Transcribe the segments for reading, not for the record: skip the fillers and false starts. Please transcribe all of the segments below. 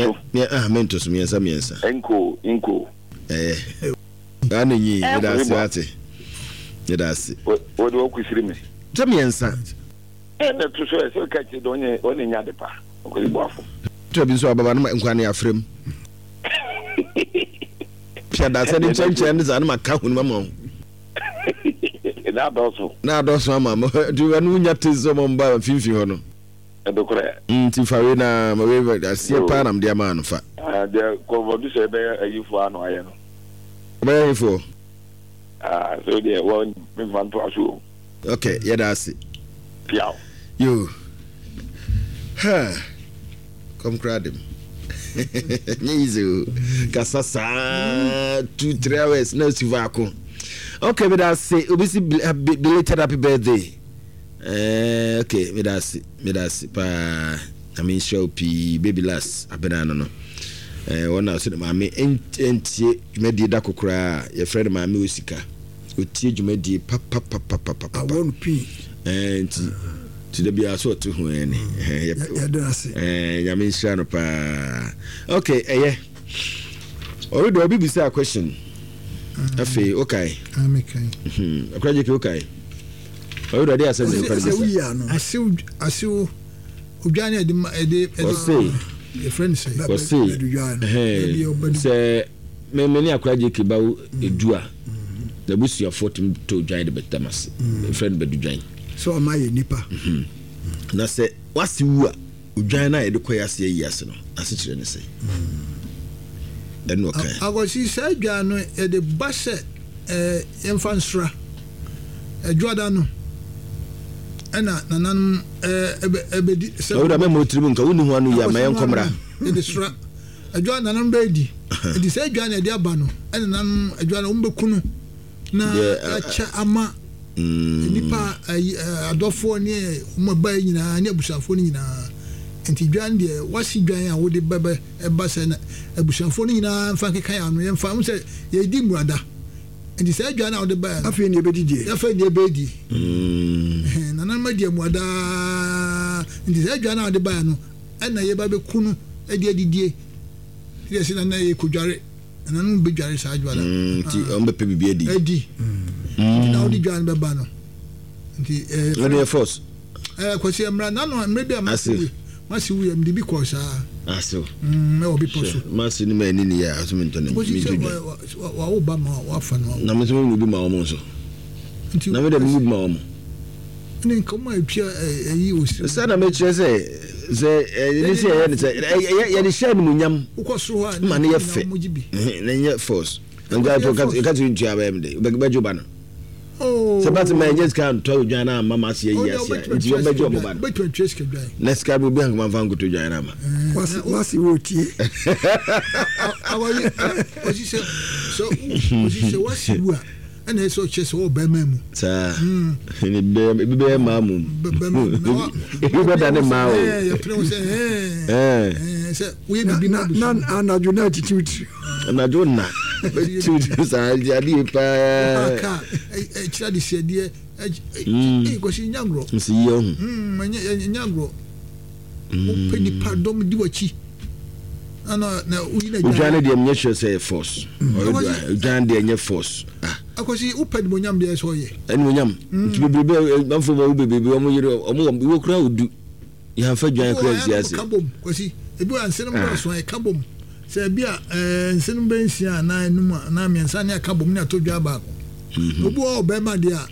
so. Ah, mento so miensa miensa. Enko, enko. Eh. Ano nyi, meda ase ate. Meda ase. Wo de okusiri me. Sɛ miensa. Eh, na to so ɛsɛ ka kyerɛ dɛ ɔnyɛ ɔne nya de pa. Ɔkɔsi boafo. Tɔ bi nso ababa no nkwa ne afrem. Pia da sɛ ne nkyɛnkyɛn ne saa ne ma ka hunu ma wo. Na adɔso. Na adɔso ama mo. Nti ɛno wonya te sɛ ɔmo mba mfimfini hɔ no. Ɛdokorɛ. Nti fa wei na ma wei aseɛ paa na mede ama no fa. Deɛ kɔnfɔdu sɛ ɛbɛyɛ ayifoɔ ano ayɛ no. Ɔbɛyɛ ayifoɔ. Ah, so deɛ wɔn mfa ntoa so o. Ok, yɛda ase. Piaw. Yo. Ha. Kɔm koraa dem. Nyɛ easy o. Kasa saa 2-3 hours na si faako. Ok, meda ase. Obi si belated happy birthday. Ok, meda ase. Meda ase paa. Nyame nhyira wo pii. Baby last abena no no. Wɔn na so de maame ntie dwumadie da kokoraa. Yɛfrɛ no maame osika. Otie dwumadie papapapapapa. Awɔ no pii. Ɛɛ nti nti da biara so ɔte ho ɛni. Yɛda ase. Ɛɛ Nyame nhyira no paa. Okay, ɛyɛ. Ɔre obi bisa question. Afei okae. Ah, mekae. Akora gyeke okae. Ɔre de ɔde asɛm na ɛkɔ bisa. Asew asew odwan ne ɛde ɛde ɛde. Ɔse. Yɛfrɛ no sɛ. Ɔse. Ɛhɛn sɛ. Me me ne akora JK ba wo edu a, n'abusuafoɔ tumi tɔ odwan de bɛda m'ase. Yɛfrɛ no badudwan. Sɛ ɔma yɛ nipa. Na sɛ w'ase wu a, odwan no a yɛde kɔ yɛ ase ayi ase no, n'asekyerɛ ne sɛn? Ɛno ɔkae. Akwasi, saa dwan no yɛde ba sɛ ɛɛ yɛmfa nsra. Ɛdwoada no ɛna nananom ɛɛ ɛbɛdi sɛ. Ɔwura mɛma wo tirim nka, wonni ho ano yie a, ma yɛnkɔ mmra. Yɛde sra. Adwa nananom bɛyɛ di. Nti sɛ adwa na ɛde aba no, ɛna nananom adwa no wɔn bɛku no na yɛakyɛ ama nnipa adɔfoɔ ne wɔn ɛba yi nyinaa ne abusuafoɔ no nyinaa. Nti dwan deɛ wasi dwan a wode bɛbɛ ɛba sɛ na abusuafoɔ no nyinaa mfa nkeka yɛn ano yɛmfa ho sɛ yɛdi mmuada. Nti sɛ adwa no a wode baeɛ no. Afei na yɛbɛdi deɛ. Afei na yɛbɛdi. Nananom adi mmuada. Nti sɛ adwa no a wode baeɛ no ɛna yɛba bɛku no de adidie yɛ sɛ nana yɛ kɔdware nananom bɛdware saa adwuma no nti wɔn bɛpɛ biribi adi adi nti na wode dwa no bɛba no nti ɛɛ ɛno yɛ force ɛɛ kwasi mmra nano mmerɛ bi a masi wu masi wu yɛ mede bi kɔɔ saa asew ɛwɔ bepɔ so masi no ma ani ni yɛ aso mentɔ ne kwasi sɛ wawo ba ma wafa no na me nso memu bi ma wɔn nso na me dɛ memu bi ma wɔn Ne nkɔmɔ a etwa ɛyi osi. Sɛ na mekyerɛ sɛ sɛ ɛne sɛ yɛyɛ ne sɛ yɛde hyɛ animuonyam wokɔ soro hɔ a ma ne yɛ fɛ na nyɛ force nka to ka to ntua bɛyɛ me de bɛgye ba no sɛ ba sɛ ma ɛnyɛ sika ntɔ odwan no amma ma ase ayi ase a nti wɔbɛgye ɔmo ba no na sika bi obi ankoma mfa nkoto dwan no ama wase wɔ tie ɔsi sɛ ɔsi sɛ wasi wu a ɛna ɛsɛ ɔkyerɛ sɛ ɔwɔ bɛrima mu. Saa ebi bɛyɛ mmaa mu. Ebi bɛda ne mmaa o. Yɛpere wo sɛ ɛɛ sɛ woyɛ biribi na na anadwo na atitiw tiri. Anadwo na bɛtiw tiri saa nti adeɛ paa. Ɔka ɛkyerɛ de sɛdeɛ ɛɛ kɔsi nya ngorɔ. Nsi yie ɔho. Nya ngorɔ. Wopɛ nipa dɔm di w'akyi. Odwan no deɛ menyɛ sure sɛ yɛ force. Odwan deɛ nyɛ force. Ah. Akwasi wopɛ animonyam deɛ sɛ ɔyɛ. Animonyam. Nti bebrebe manfo ma wo bebrebe wɔn yere wɔn wɔ wɔ kura odu. Yɛnfa dwan kura nsi ase. Ka bom kwasi ebi wɔ nsenom dɔɔso a ɛka bom sɛ ebi a ɛɛ nsenom bɛ nsia anaa enum a anaa mmiɛnsa ne aka bom ne ato dwan baako. Obi wɔ ɔbɛrima deɛ a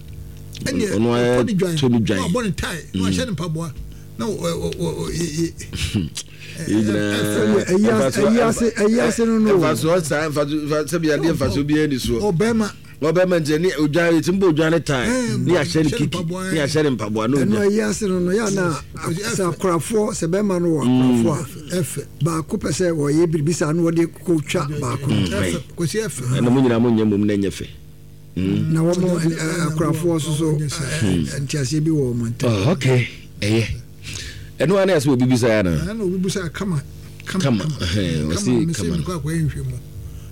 ɛneɛ ɔtɔ ne dwan na wabɔ ne tae na wahyɛ ne mpaboa. Na wɔ wɔ wɔ ye. Ɛyi ase no no. Mfasoɔ saa mfasoɔ sɛbi adeɛ mfasoɔ biara ni soɔ. Ɔbɛrima. Ɔbɛrima nti ɛni odwan eti mbɔ odwan ne tan ne ahyɛ ne kiki ne ahyɛ ne mpaboa ne odwan. Ɛnu ɛyi ase no no yà na sɛ akorafoɔ sɛ bɛrima no wɔ akorafoɔ a baako pɛ sɛ wɔyɛ biribi saa na wɔde kɔ twa baako. Kwasi ɛfɛ. Ɛna mo nyinaa mo nyɛ mom na ɛnyɛ fɛ. Na wɔn akorafoɔ nso so nteaseɛ bi wɔ wɔn ntam. Oh, okay ɛyɛ ɛno ara na ɛsɛ obi bisa ya na. Ɛna obi bisa kama kama kama ɔsi kama kama akɔyɛ nhwɛ mu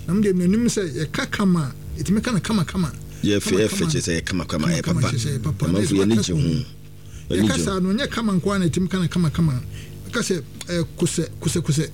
na mo deɛ menim sɛ yɛka kama a ɛtumi ka no kama kama. Yɛ fɛ yɛ fɛ kyerɛ sɛ yɛ kama kama yɛ papa amanfo yɛ ani gye ho. Yɛka saa no nyɛ kama nko ara na ɛtumi ka no kama kama ɛka sɛ kosɛ kosɛ kosɛ.